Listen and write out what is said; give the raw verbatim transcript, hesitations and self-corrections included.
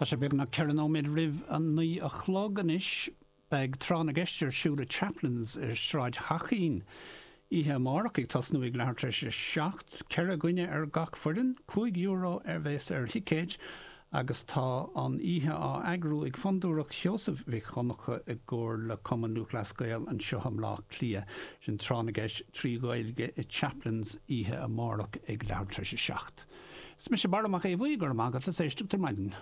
Tá sé beagnach ceithre nóiméad roimh a naoi a chlog anois. Beidh tráth na gceist ar siúl i Chaplins ar Sráid Chaichín. Oíche amárach ag tosnú ag leathuair tar éis a seacht, ceithre dhuine ar gach foireann, cúig euro a bheas ar thicéid agus tá an oíche á eagrú ag Fondúireacht Sheosaimh Mhic Dhonncha i gcomhar le Cumann Lúthchleas Gael anseo i mBleá Cliath. Sin tráth na gceist trí Ghaeilge i Chaplins oíche amárach ag leathuair tar éis a seacht. Is mise Barra Mac Aodha Bhuí, go raibh maith agat as éisteacht ar maidin.